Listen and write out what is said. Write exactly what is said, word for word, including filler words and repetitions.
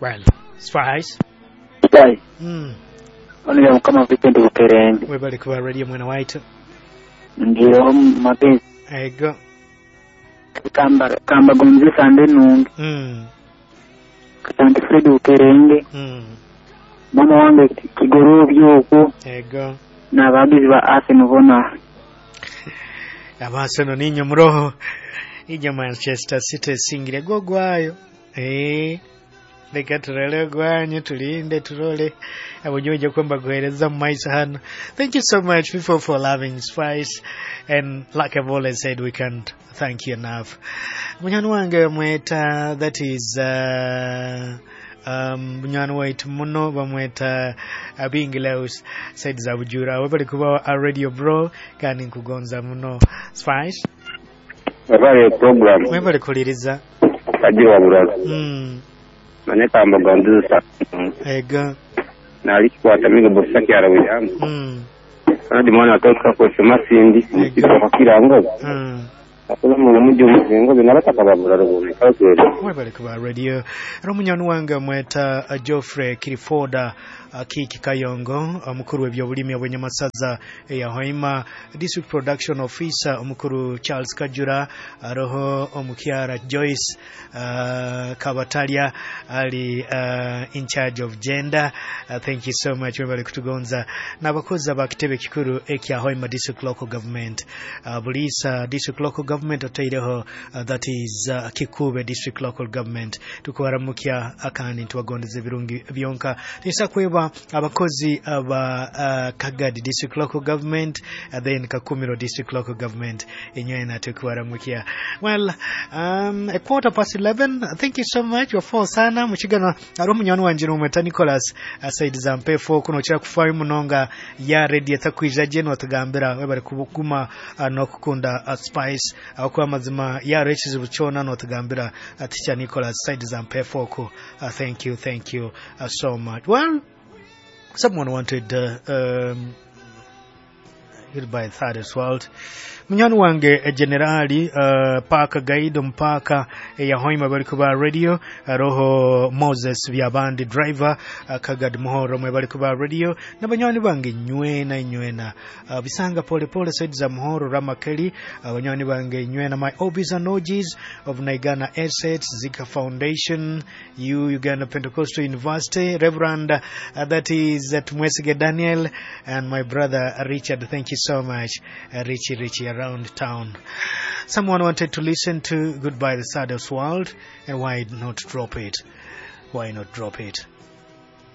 Well, Spice. Sai. Mm. Ono ya mukama Vincent Bukerembe. Webale kuba radio mwana waitu. Ndio mapenzi. Ego. Kamba kamba gonzesa ndenungi. Mm. Katante Fred Bukerenge. Mm. Mama wange Kigorobyo okwo Ego. n'abagizi ba Arsenal bona. Abaseno ninyo muroho. Ija Manchester City esingire gogwayo. Eh. Reka turole gwanyu tulinde turole abunyoje kwamba guhereza mu maiso hano. Thank you so much, people, for loving Spice, and like I've always said, we can't thank you enough. Munywani wange mweta, that is uh, um, munywani waitu muno bamweta Abingileus said za Bujura. Webali kuba a radio bro, kandi nkugonza muno. Spice. Webale program. Webali kuliriza. Kajiwa buraza. Mm. Manye kamba gondusa. Ego. Nali kikwata migo bosaki ara William. Mm. Kandi mwana atoka kwa masindi mukiro kirango. Mm. Akula mu mujjo muzingo binabata kababura rubume kalkwere. Webale kuba radio. Era omunyoni wange mweta uh, Geoffrey Kirifoda uh, Kiki Kayongo, omukuru w'ebyobulimi obw'enyamasaza eya Hoima, District Production Officer omukuru Charles Kajura, aroho omukyara Joyce uh, Kabatalia ali uh, in charge of gender. Uh, thank you so much, webale kutugonza n'abakozi abakitebe kikuru ekya Hoima District Local Government, uh, Bulisa District Local Government otaireho, uh, that is uh, Kikube District Local Government. Tukubaramukya akandi ntibagondeza ebirungi byonka. Tuisa kweba abakozi aba uh, Kagadi District Local Government, uh, then Kakumiro District Local Government inywena tukubaramukya. Well, um, a quarter past eleven. Thank you so much wafo sana muchigano ari omunywani wanje nomweta Nicholas uh, Said Zampefo kuno okira kufayo munonga ya radio etakwija gye notugambira webale kuguma uh, n'okukunda uh, Spice aho amazima yaro ekizibu kyona notugambira uh, teacher Nicholas Said Zampefo ku. uh, thank you, thank you uh, so much. Well, someone wanted uh, um, by third as well. Munywani wange generali uh, park guide mpaka ya Hoima bali kuba radio, roho Moses Byabandi driver, uh, Kagad Muhoro mwe bali kuba radio na banywani bange nywena nywena, uh, bisanga pole pole said za Muhoro Ramakeli, uh, banywani bange nywena, my obis and O Gs of Naigana Assets Zika Foundation, U Uganda Pentecostal University, Reverend, uh, that is uh, Tumwesige Daniel, and my brother Richard. Thank you so much, uh, Richie Richie around town. Someone wanted to listen to Goodbye the Saddest World, and why not drop it? Why not drop it?